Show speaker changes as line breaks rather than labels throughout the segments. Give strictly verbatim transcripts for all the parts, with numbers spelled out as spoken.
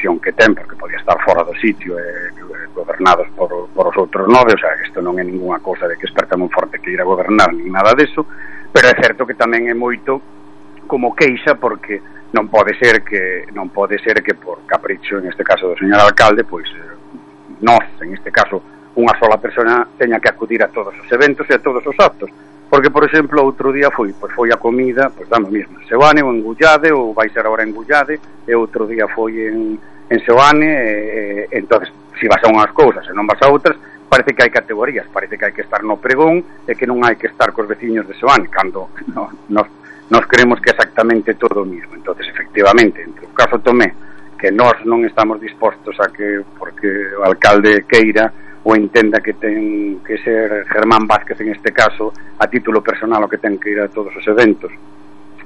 posición que ten, porque podía estar fora do sitio e eh, gobernados por, por os outros nove, o sea, isto non é ninguna cousa de que Esperta Monforte que ir a gobernar, nin nada deso, pero é certo que tamén é moito como queixa, porque non pode ser que non pode ser que por capricho, en este caso do señor alcalde, pois eh, nós, en este caso, unha sola persona teña que acudir a todos os eventos e a todos os actos. Porque, por exemplo, outro día foi, pois foi a comida, pois damos mesmo, en Seoane ou en Gullade, ou vai ser agora en Gullade, e outro día foi en, en Seoane, e, e entonces, se vas a unhas cousas e non vas a outras, parece que hai categorías, parece que hai que estar no pregón e que non hai que estar cos veciños de Seoane, cando no, nos, nos creemos que é exactamente todo o mismo. Entonces, efectivamente, entre o caso Tomé, que nós non estamos dispostos a que, porque o alcalde queira ou entenda que ten que ser Germán Vázquez en este caso a título personal o que ten que ir a todos os eventos,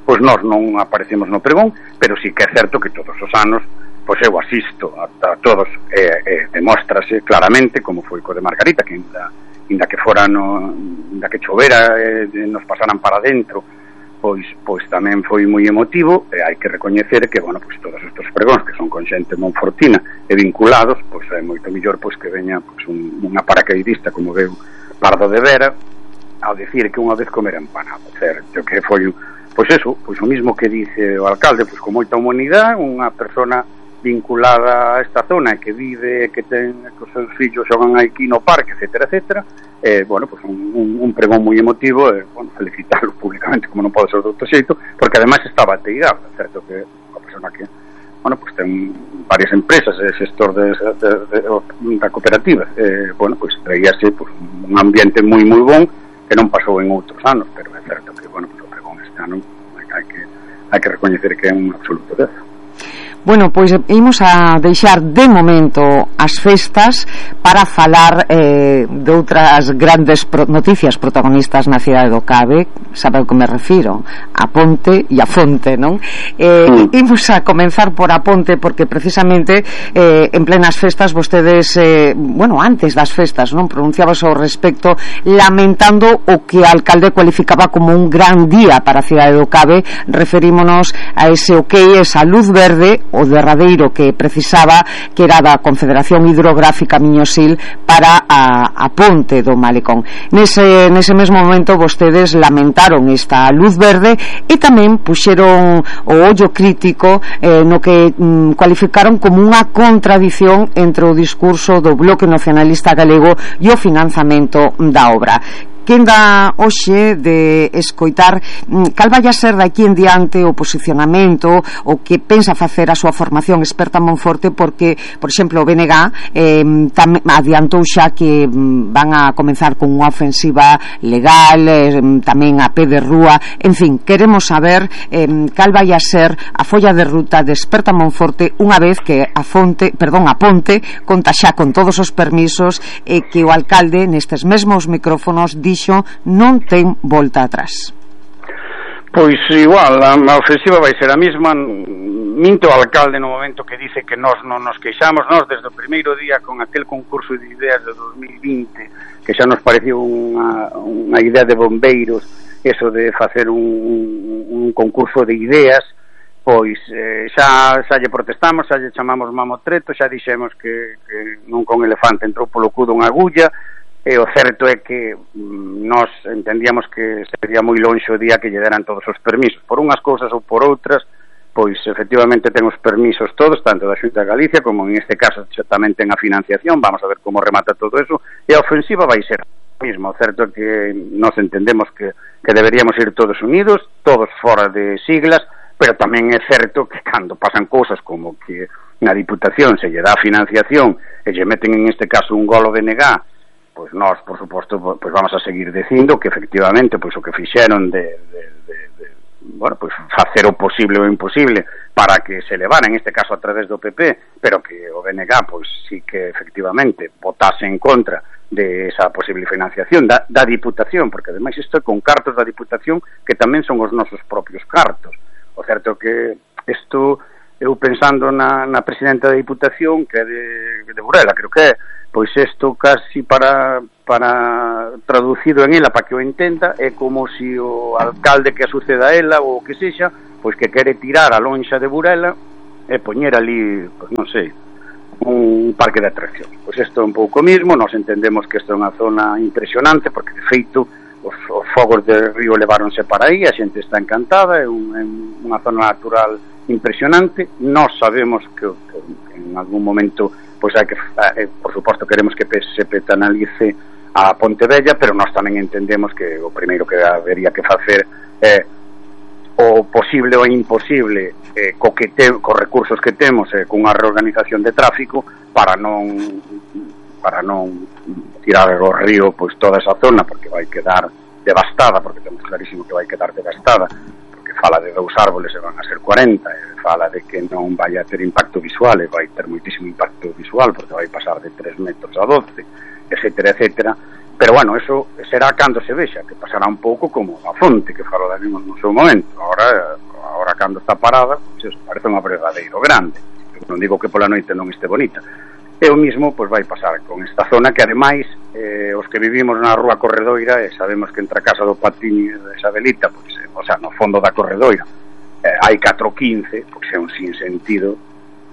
pois nós non aparecemos no pregón, pero sí que é certo que todos os anos pois eu asisto a, a todos e, e demóstrase claramente, como foi co de Margarita, que inda, inda que fora no, inda que chovera e nos pasaran para dentro, pois pois tamén foi moi emotivo, e hai que recoñecer que, bueno, pois todos estes pregóns que son con xente monfortina e vinculados, pois é moito mellor pois que veña pois un, unha paracaidista como veu Pardo de Vera ao dicir que unha vez comer empanado, certo, que foi pois eso, pois o mismo que dice o alcalde, pois con moita humanidade, unha persona vinculada a esta zona que vive, que ten que os seus fillos xogan aquí no parque, etcétera, etcétera, eh, bueno, pues un, un, un pregón moi emotivo, e, eh, bueno, felicitarlo públicamente, como non pode ser de outro xeito, porque ademais estaba ateigado, certo que a persona que, bueno, pues ten varias empresas, é xestor de, de, de, de, da cooperativa, eh, bueno, pues traíase pues, un ambiente moi moi bon, que non pasou en outros anos, pero é certo que, bueno, pues o pregón este ano hai que, hai que recoñecer que é un absoluto dezo.
Bueno, pois imos a deixar de momento as festas para falar eh, de outras grandes pro- noticias protagonistas na cidade do Cabe. Sabe ao que me refiro? A Ponte e a Fonte, non? Eh, imos a comenzar por a Ponte, porque precisamente eh, en plenas festas vostedes, eh, bueno, antes das festas, non, pronunciabas ao respecto lamentando o que o alcalde cualificaba como un gran día para a cidade do Cabe. Referímonos a ese ok, esa luz verde, o derradeiro que precisaba, que era da Confederación Hidrográfica Miñosil para a, a Ponte do Malecón. Nese, nese mesmo momento vostedes lamentaron esta luz verde e tamén puxeron o ollo crítico eh, no que mm, cualificaron como unha contradición entre o discurso do Bloque Nacionalista Galego e o financiamento da obra. Quen dá hoxe de escoitar cal vai a ser daqui en diante o posicionamento, o que pensa facer a súa formación Experta Monforte, porque, por exemplo, o B N G eh, tam, adiantou xa que van a comenzar con unha ofensiva legal, eh, tamén a pé de rúa, en fin, queremos saber eh, cal vai a ser a folla de ruta de Experta Monforte unha vez que a fonte, perdón, a Ponte conta xa con todos os permisos e que o alcalde nestes mesmos micrófonos di non ten volta atrás.
Pois igual, a, a ofensiva vai ser a mesma. Minto o alcalde no momento que dice que nós non nos queixamos. Nós desde o primeiro día con aquel concurso de ideas de dos mil vinte, que xa nos pareceu unha, unha idea de bombeiros, eso de facer un, un concurso de ideas, pois eh, xa, xa lle protestamos, xa lle chamamos mamotreto, xa dixemos que, que non con elefante entrou polo cudo unha agulla. E o certo é que mm, nós entendíamos que sería moi lonxe o día que lle deran todos os permisos. Por unhas cousas ou por outras, pois efectivamente ten os permisos todos, tanto da Xunta de Galicia como en este caso tamén ten a financiación. Vamos a ver como remata todo eso. E a ofensiva vai ser a mesma. O certo é que nós entendemos que, que deberíamos ir todos unidos, todos fora de siglas, pero tamén é certo que cando pasan cousas como que na Diputación se lle dá financiación e lle meten en este caso un golo de negar, pois nós, por suposto, pois vamos a seguir dicindo que efectivamente pois o que fixeron de, de, de, de bueno, pois facer o posible ou imposible para que se levara, en este caso a través do P P, pero que o B N G pois sí que efectivamente votase en contra de esa posible financiación da, da Diputación, porque ademais isto é con cartos da Diputación que tamén son os nosos propios cartos. O certo que isto, eu pensando na, na presidenta da Diputación, que é de, de Burela, creo que é, pois isto casi para para traducido en ela para que o entenda, é como se o alcalde que a suceda a ela ou o que sexa, pois que quere tirar a lonxa de Burela é poñer ali, pois non sei, un parque de atracción. Pois isto é un pouco mismo, nós entendemos que isto é unha zona impresionante, porque de feito os, os fogos de río leváronse para aí, a xente está encantada, é, un, é unha zona natural impresionante. Nós sabemos que, que en algún momento pois hai que, eh, por suposto queremos que se petanalice a Pontevella, pero nós tamén entendemos que o primeiro que habería que facer é o posible ou imposible eh, co que te, co recursos que temos eh, cunha reorganización de tráfico para non para non tirar o río pois toda esa zona, porque vai quedar devastada, porque temos clarísimo que vai quedar devastada, porque fala de dous árboles e van a ser cuarenta, e fala de que non vai a ter impacto visual, e vai ter moitísimo impacto visual, porque vai pasar de tres metros a doce, etcétera, etcétera. Pero bueno, eso será cando se vexa, que pasará un pouco como a fonte que falou da mismo no seu momento. Ahora, ahora cando está parada, pues, parece un abrevadeiro grande. Eu non digo que pola noite non este bonita. E o mismo pois vai pasar con esta zona que ademais eh, os que vivimos na rúa Corredoira e sabemos que entre a casa do Patiño e da Isabelita, pois, eh, o sea, no fondo da Corredoira eh, hai catro quince, pois é un sinsentido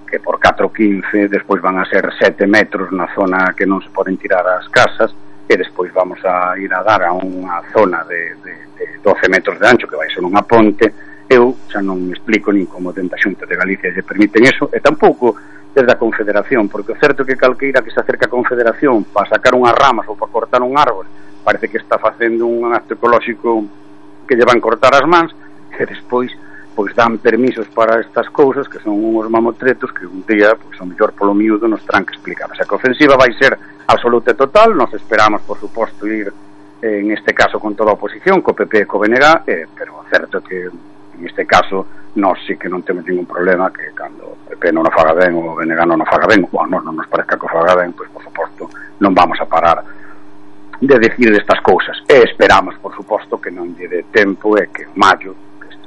que por catro quince despois van a ser sete metros na zona que non se poden tirar as casas, e despois vamos a ir a dar a unha zona de, de, de doce metros de ancho que vai ser unha ponte. Eu xa non me explico nin como dentro da Xunta de Galicia lle permiten eso, e tampouco desde a Confederación, porque o certo que calqueira que se acerca a Confederación para sacar unhas ramas ou para cortar un árbol parece que está facendo un acto ecolóxico que lle van cortar as mans, e despois pois dan permisos para estas cousas que son uns mamotretos que un día, pois o mellor polo miúdo nos terán que explicar. O sea, que a ofensiva vai ser absoluta e total. Nos esperamos, por suposto, ir eh, en este caso con toda a oposición, co P P e co B N G, eh, pero certo que en este caso nós sí que non temos ningún problema que cando o P P non o faga ben ou o B N G non o faga ben, ou a nós non nos parezca que o faga ben, pois por suposto non vamos a parar de decir estas cousas. E esperamos, por suposto, que non lle dé tempo e que en maio,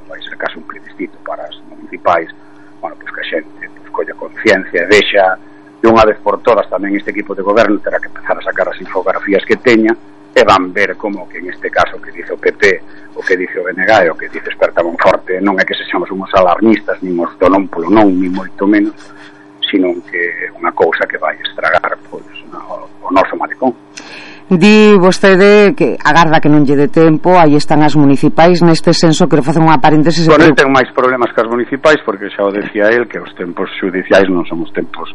vai ser caso un plebiscito para as municipais, bueno, pois que a xente pois, colla conciencia e deixa de unha vez por todas tamén este equipo de goberno terá que empezar a sacar as infografías que teña e van ver como que en este caso que dice o P P, o que dice o B N G, o que dice Esperta Monforte, non é que sexamos uns alarmistas, nin os do non polo non, nin moito menos, sino que é unha cousa que vai estragar pois, o, o noso malecón.
Di vostede que agarda que non lle dé tempo, aí están as municipais, neste senso quero facer unha paréntesis.
Con el ten máis problemas que as municipais, porque xa o decía el que os tempos xudiciais non son os tempos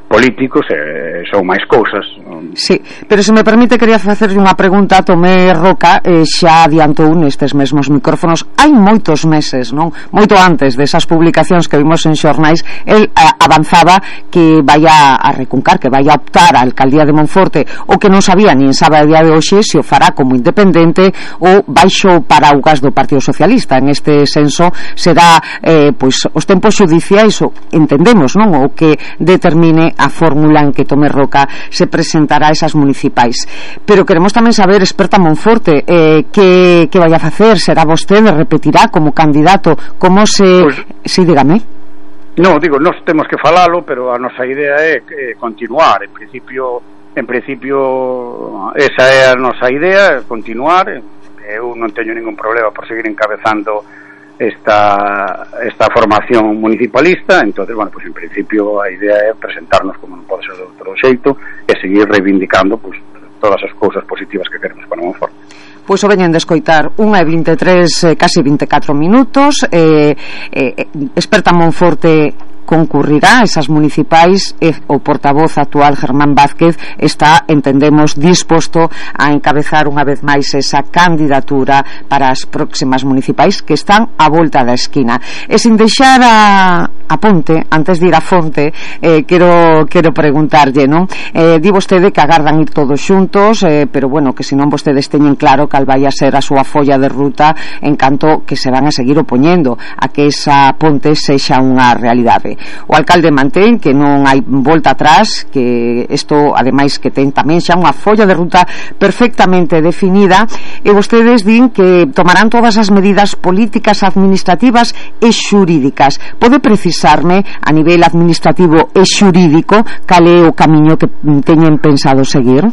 políticos e son máis cousas.
Sí, pero se me permite quería facerlle unha pregunta a Tomé Roca, eh, xa adiantou nestes mesmos micrófonos hai moitos meses, non? Moito antes desas publicacións que vimos en xornais, el eh, avanzaba que vai a, a recuncar, que vai a optar a alcaldía de Monforte, o que non sabía nin sabe a día de hoxe se o fará como independente ou baixo paraugas do Partido Socialista. En este senso será eh, pois os tempos xudiciais, o, entendemos, non? O que determine a fórmula en que Tomé Roca se presentará a esas municipais. Pero queremos tamén saber, Esperta Monforte, eh, que, que vai a facer? Será vostede, repetirá como candidato? Como se... Pues, sí, dígame.
No, digo, nós temos que falalo, pero a nosa idea é eh, continuar. En principio, en principio esa é a nosa idea, continuar. Eu non teño ningún problema por seguir encabezando esta esta formación municipalista. Entonces, bueno, pues en principio a idea é presentarnos como non pode ser de outro xeito e seguir reivindicando pues todas as cousas positivas que queremos para Monforte.
Pois o veñen de escoitar unha e vinte e tres, eh, casi vinte e catro minutos. eh, eh, Esperta Monforte concurrirá a esas municipais e o portavoz actual Germán Vázquez está, entendemos, disposto a encabezar unha vez máis esa candidatura para as próximas municipais que están á volta da esquina. E sin deixar a, a ponte, antes de ir a fonte, eh, quero, quero preguntarlle, non? Eh, di vostede que agardan ir todos xuntos, eh, pero bueno, que se non vostedes teñen claro cal vai a ser a súa folla de ruta en canto que se van a seguir opoñendo a que esa ponte sexa unha realidade. O alcalde mantén que non hai volta atrás, que isto ademais que ten tamén xa unha folla de ruta perfectamente definida, e vostedes din que tomarán todas as medidas políticas, administrativas e xurídicas. Pode precisarme a nivel administrativo e xurídico cal é o camiño que teñen pensado seguir?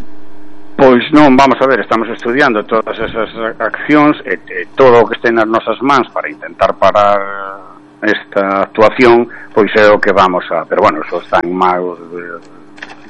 Pois non, vamos a ver, estamos estudiando todas esas accións e, e todo o que este nas nosas mans para intentar parar esta actuación, pois é o que vamos a, pero bueno, eso está en manos de,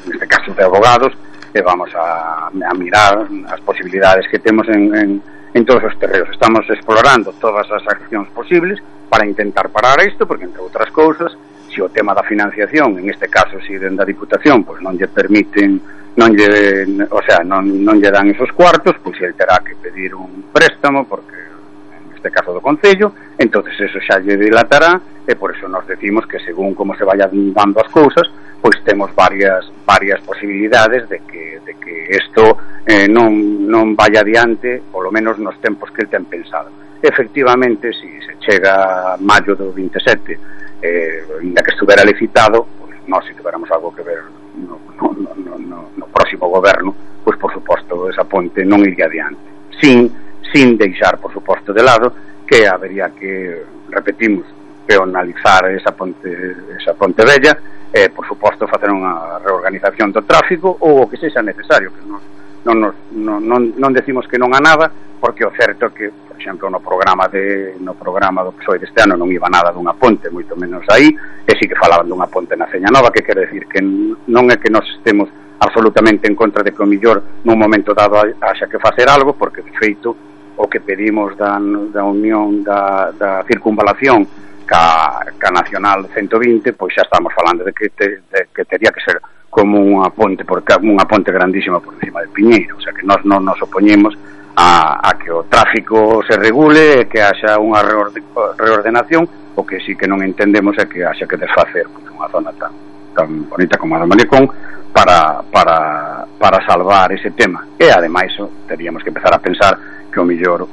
neste caso de abogados, e vamos a, a mirar as posibilidades que temos en, en, en todos os terreos. Estamos explorando todas as accións posibles para intentar parar isto, porque entre outras cousas, se o tema da financiación, en este caso si dende a Diputación, pois non lle permiten, non lle, o sea, non, non lle dan esos cuartos, pois ele terá que pedir un préstamo, porque en este caso do Concello, entonces eso xa lle dilatará, e por eso nos decimos que según como se vayan dando as cousas, pois temos varias varias posibilidades de que de que isto eh, non non vaya adiante, polo menos nos tempos que el ten pensado. Efectivamente, si se chega a maio do veintisiete, eh, ainda que estuvera licitado, pois nós se tuveramos algo que ver no, no, no, no, no próximo goberno, pois por suposto esa ponte non iría adiante, sin sin deixar por suposto de lado que habería que, repetimos, peonalizar esa ponte esa ponte vella, e por suposto facer unha reorganización do tráfico ou o que sexa necesario, que non non, nos, non, non, non decimos que non a nada, porque o certo é que, por exemplo, no programa de no programa do P S O E deste ano non iba nada dunha ponte, moito menos aí, e sí que falaban dunha ponte na Ceña Nova, que quere decir que non é que nós estemos absolutamente en contra de que o millor nun momento dado haxa que facer algo, porque de feito o que pedimos da, da unión da, da circunvalación ca, ca Nacional ciento vinte, pois xa estamos falando de que, te, de, que tería que ser como unha ponte por, unha ponte grandísima por encima de Piñeiro, o sea que nós non nos opoñemos a, a que o tráfico se regule e que haxa unha reordenación. O que sí que non entendemos é que haxa que desfacer pues, unha zona tan, tan bonita como a do Malecón para, para, para salvar ese tema, e ademais teríamos que empezar a pensar que o mellor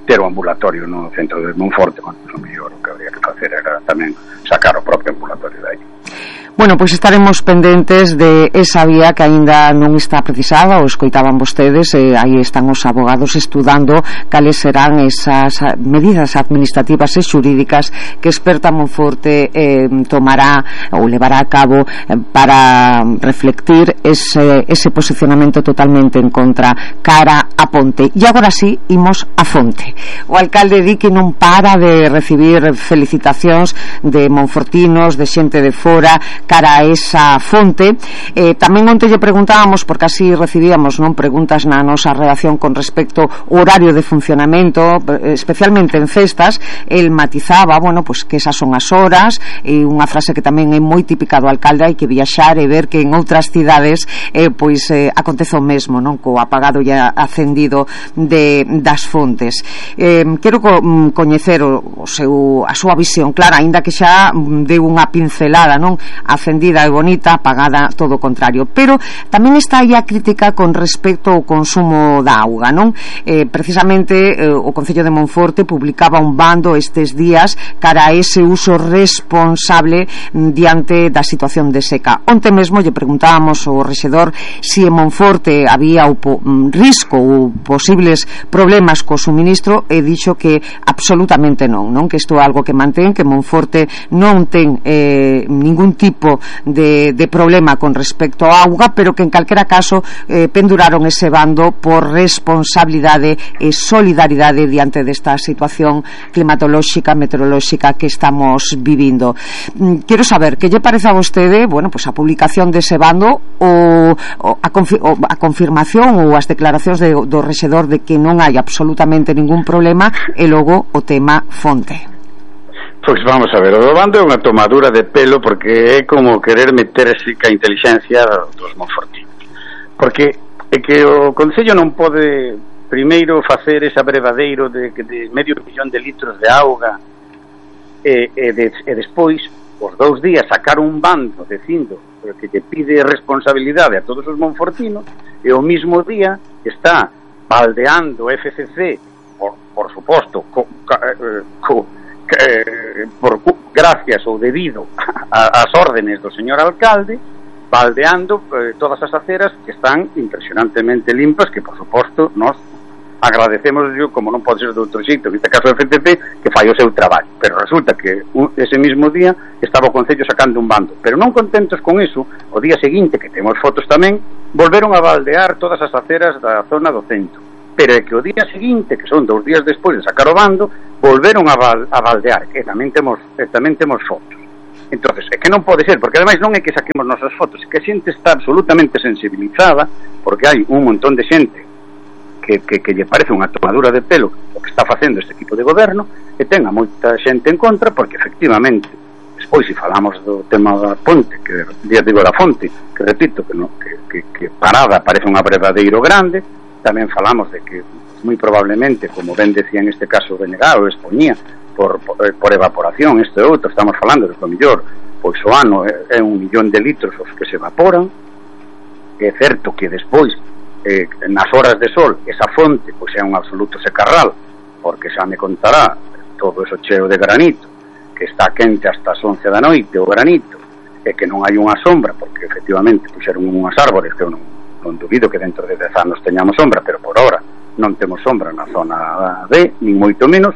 ter o ambulatorio no centro de Monforte, bueno, o mellor o que habría que facer era tamén sacar o propio ambulatorio de aí.
Bueno, pois estaremos pendentes de esa vía que aínda non está precisada, o escoitaban vostedes, e aí están os abogados estudando cales serán esas medidas administrativas e xurídicas que Experta Monforte eh, tomará ou levará a cabo eh, para reflectir ese, ese posicionamento totalmente en contra cara a ponte. E agora sí, imos a fonte. O alcalde di que non para de recibir felicitacións de monfortinos, de xente de fora cara a esa fonte. Eh, tamén onte lle preguntábamos, porque así recibíamos non preguntas na nosa redacción con respecto ao horario de funcionamento, especialmente en festas. El matizaba, bueno, pues que esas son as horas, e unha frase que tamén é moi típica do alcalde: hai que viaxar e ver que en outras cidades eh, pois eh, acontece o mesmo, non, co apagado e acendido de, das fontes. Eh, quero co, coñecer o, o seu, a súa visión clara, aínda que xa deu unha pincelada, non, acendida e bonita, apagada todo o contrario, pero tamén está aí a crítica con respecto ao consumo da auga, non? Eh, precisamente eh, o Concello de Monforte publicaba un bando estes días cara a ese uso responsable diante da situación de seca. Onte mesmo lle preguntábamos ao rexedor se en Monforte había o po, risco ou posibles problemas co suministro, e dixo que absolutamente non, non, que isto é algo que mantén, que Monforte non ten eh, ningún tipo de, de problema con respecto á auga, pero que en calquera caso eh, penduraron ese bando por responsabilidade e solidaridade diante desta situación climatolóxica, meteorolóxica que estamos vivindo. Mm, quero saber que lle parece a vostede, bueno, pues a publicación dese bando ou, ou, a, confi ou a confirmación ou as declaracións de, do rexedor de que non hai absolutamente ningún problema, e logo o tema fonte.
Pois vamos a ver, o do bando é unha tomadura de pelo, porque é como querer meterse ca inteligencia dos monfortinos, porque é que o Concello non pode primeiro facer ese abrevadeiro de, de medio millón de litros de auga e, e, de, e despois os dous días sacar un bando dicindo que te pide responsabilidade a todos os monfortinos, e o mismo día está baldeando F C C por, por suposto co, co, Eh, por gracias ou debido ás órdenes do señor alcalde, baldeando eh, todas as aceras que están impresionantemente limpas, que por suposto nós agradecemos, yo, como non pode ser de outro xeito, neste caso o F T P, que fai o seu traballo, pero resulta que un, ese mismo día estaba o Concello sacando un bando, pero non contentos con eso, o día seguinte, que temos fotos tamén, volveron a baldear todas as aceras da zona do centro, pero é que o día seguinte, que son dous días despois de sacar o bando, volveron a, val, a baldear, que tamén temos, e tamén temos fotos. Entonces, é que non pode ser, porque ademais non é que saquemos nosas fotos, é que a xente está absolutamente sensibilizada, porque hai un montón de xente que, que, que lle parece unha tomadura de pelo o que está facendo este tipo de goberno, e ten a moita xente en contra, porque efectivamente, despois, se falamos do tema da ponte, que día digo da fonte, que repito, que, no, que, que, que parada parece un abrevadeiro grande, tamén falamos de que, moi probablemente, como ben decía en este caso Benegado, expoñía, Por, por, por evaporación, isto e outro, estamos falando de que o mellor, pois o ano é, é un millón de litros os que se evaporan. É certo que despois eh, nas horas de sol esa fonte pois é un absoluto secarral, porque xa me contará todo eso cheo de granito que está quente hasta as once da noite o granito, e que non hai unha sombra, porque efectivamente puxeron unhas árbores que eu non, non dubido que dentro de dez anos teñamos sombra, pero por ahora non temos sombra na zona D, nin moito menos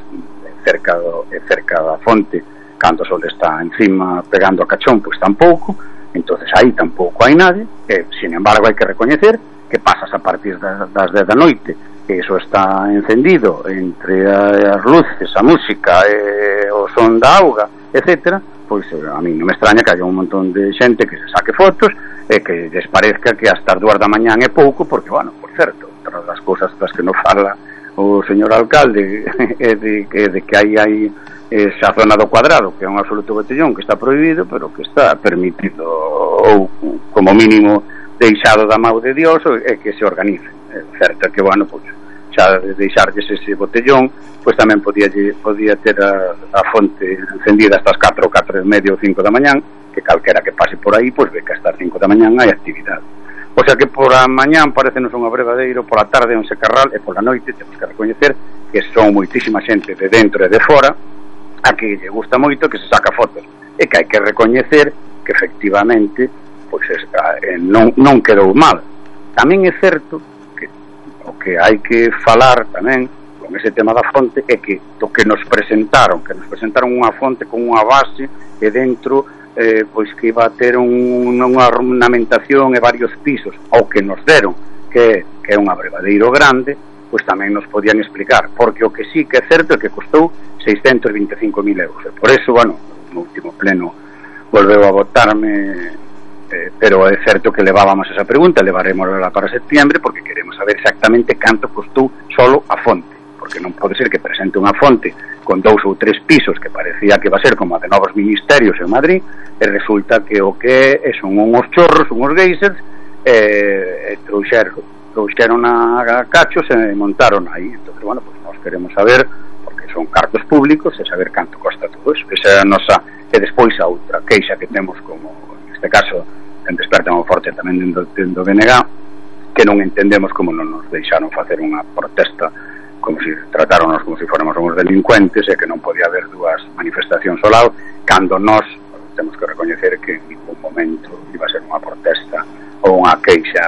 cerca, do, cerca da fonte, cando o sol está encima pegando a cachón, pois tampouco. Entonces aí tampouco hai nadie, e, sin embargo, hai que recoñecer que pasas a partir das, das dez da noite, e iso está encendido entre as luces, a música, e o son da auga, etcétera. Pois a mí non me extraña que haya un montón de xente que se saque fotos e que les parezca que hasta as dúas da mañán é pouco, porque, bueno, por certo, outra das cousas das que nos fala o señor alcalde é de, de, de que aí hai esa zona do Cuadrado, que é un absoluto botellón que está prohibido, pero que está permitido, ou como mínimo deixado da mão de Dios, e que se organice. É certo que, bueno, pois, xa de deixarlles ese botellón, pois tamén podía, podía ter a, a fonte encendida hasta as catro, catro e media ou cinco da mañán, que calquera que pase por aí, pois ve que hasta as cinco da mañán hai actividade. O sea que por a mañán parecenos un abrevadeiro, por a tarde un secarral, e por a noite temos que recoñecer que son moitísima xente de dentro e de fora a que lle gusta moito que se saca fotos, e que hai que recoñecer que efectivamente pois eh, non, non quedou mal. Tamén é certo que o que hai que falar tamén con ese tema da fonte é que o que nos presentaron, que nos presentaron unha fonte con unha base e dentro Eh, pois que iba a ter un, unha ornamentación e varios pisos, ao que nos deron que, que é un abrevadeiro grande, pois tamén nos podían explicar, porque o que sí que é certo é que costou seiscentos e vinte e cinco mil euros, e por eso, bueno, no último pleno volveu a votarme, eh, pero é certo que levábamos esa pregunta, levaremosla para septiembre, porque queremos saber exactamente canto costou solo a fonte, porque non pode ser que presente unha fonte con dous ou tres pisos que parecía que va a ser como a de novos ministerios en Madrid, e resulta que o que é son unhos chorros, unhos geysers, e, e trouxeron, trouxeron a cachos e montaron aí. Entón, bueno, pues nós queremos saber, porque son cartos públicos, e saber canto costa todo eso. Esa é a nosa, e despois a outra queixa que temos, como neste caso en Desperta moi forte tamén dentro do B N G, que non entendemos como non nos deixaron facer unha protesta, como se tratáronos como se fóramos uns delincuentes, e que non podía haber dúas manifestacións ao lado, cando nós temos que recoñecer que en ningún momento iba a ser unha protesta ou unha queixa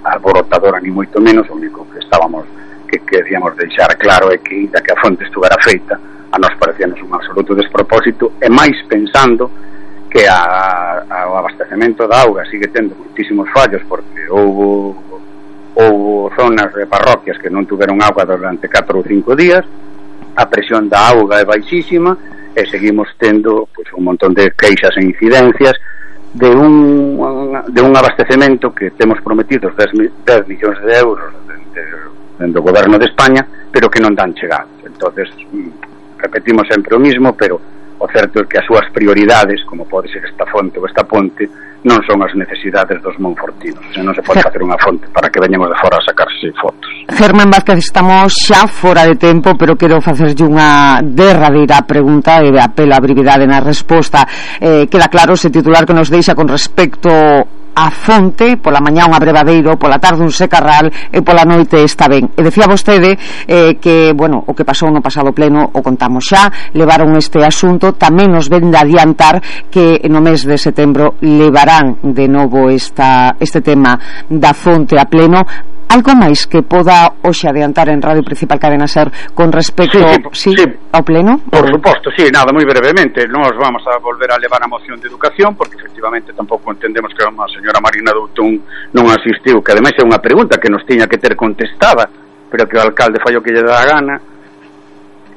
alborotadora, ni moito menos. O único que estábamos que queríamos deixar claro é que, da que a fonte estuvera feita, a nós parecíanos un absoluto despropósito, e máis pensando que a, a, o abastecemento da auga sigue tendo muitísimos fallos, porque houve houve zonas de parroquias que non tuveron auga durante catro ou cinco días, a presión da auga é baixísima, e seguimos tendo pois, un montón de queixas e incidencias de un, de un abastecemento que temos prometidos dez millóns de euros dentro do goberno de España, pero que non dan chegados. Entonces repetimos sempre o mismo, pero o certo é que as súas prioridades, como pode ser esta fonte ou esta ponte, non son as necesidades dos monfortinos. O sea, non se pode facer unha fonte para que veñemos de fora a sacarse fotos.
Germán Vázquez, estamos xa fora de tempo, pero quero facerlle unha derradeira pregunta e apelo a brevidade na resposta. Eh, queda claro ese titular que nos deixa con respecto a fonte, pola mañá un abrevadeiro, pola tarde un secarral e pola noite está ben. E decía vostede eh, que, bueno, o que pasou no pasado pleno o contamos xa, levaron este asunto, tamén nos ven de adiantar que no mes de setembro levarán de novo esta, este tema da fonte a pleno. Algo máis que poda hoxe adiantar en Radio Principal Cadena Ser con respecto
sí, sí, sí,
ao pleno?
Por suposto, sí, nada, moi brevemente. Nos vamos a volver a levar a moción de educación, porque efectivamente tampouco entendemos que a señora Marina Doutón non asistiu, que ademais é unha pregunta que nos tiña que ter contestada, pero que o alcalde fai o que lle dá a gana,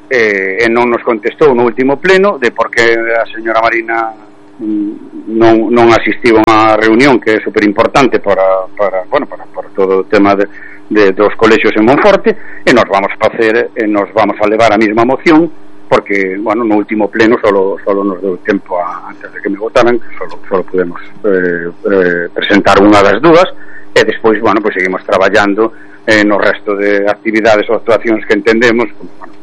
e, e non nos contestou no último pleno de por que a señora Marina non, non asistiu a unha reunión que é super importante para, para, bueno, para, para todo o tema de, de, dos colexios en Monforte, e nos vamos a facer e nos vamos a levar a mesma moción porque, bueno, no último pleno solo, solo nos deu tempo a, antes de que me votaran, solo, solo podemos eh, eh, presentar unha das dúas, e despois, bueno, pues seguimos traballando eh, no resto de actividades ou actuacións que entendemos, como, bueno,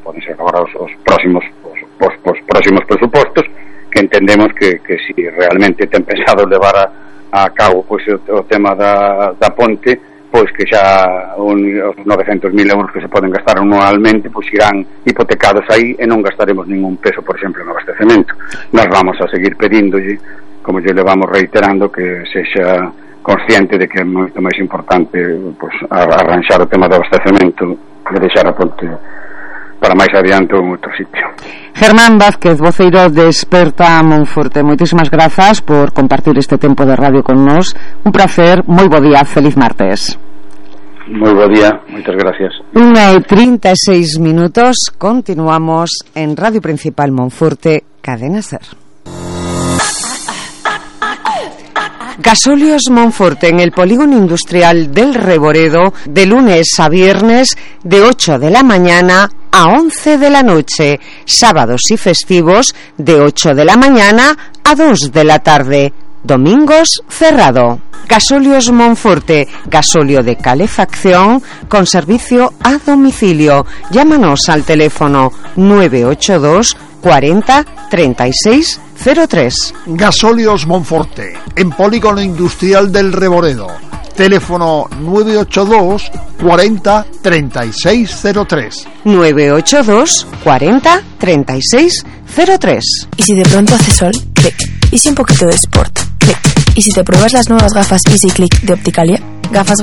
poden ser agora os, os próximos os, os, os próximos presupostos, que entendemos que, que si realmente ten pensado levar a, a cabo pois, o, o tema da, da ponte, pois que xa un, os novecentos mil euros que se poden gastar anualmente pois irán hipotecados aí e non gastaremos ningún peso, por exemplo, en abastecemento. Nos vamos a seguir pedíndolle, como lle le vamos reiterando, que sexa consciente de que é moito máis importante pois, arranxar o tema do abastecemento e deixar a ponte para máis adiante en outro sitio.
Germán Vázquez, voceiro de Experta Monforte, moitísimas grazas por compartir este tempo de radio con nós. Un placer, moi bo día, feliz martes.
Moi bo día, moitas gracias.
Unha e trinta e seis minutos, continuamos en Radio Principal Monforte, Cadena Ser. Gasóleos Monforte en el polígono industrial del Reboredo, de lunes a viernes de ocho de la mañana a once de la noche, sábados y festivos de ocho de la mañana a dos de la tarde, domingos cerrado. Gasóleos Monforte, gasóleo de calefacción con servicio a domicilio. Llámanos al teléfono nueve ocho dos cuarenta treinta y seis cero tres.
Gasóleos Monforte, en polígono industrial del Reboredo. Teléfono nueve ocho dos cuarenta treinta y seis cero tres.
nueve ocho dos cuarenta treinta y seis cero tres.
Y si de pronto hace sol, clic. Y si un poquito de sport, clic. Y si te pruebas las nuevas gafas Easy Click de Opticalia, gafas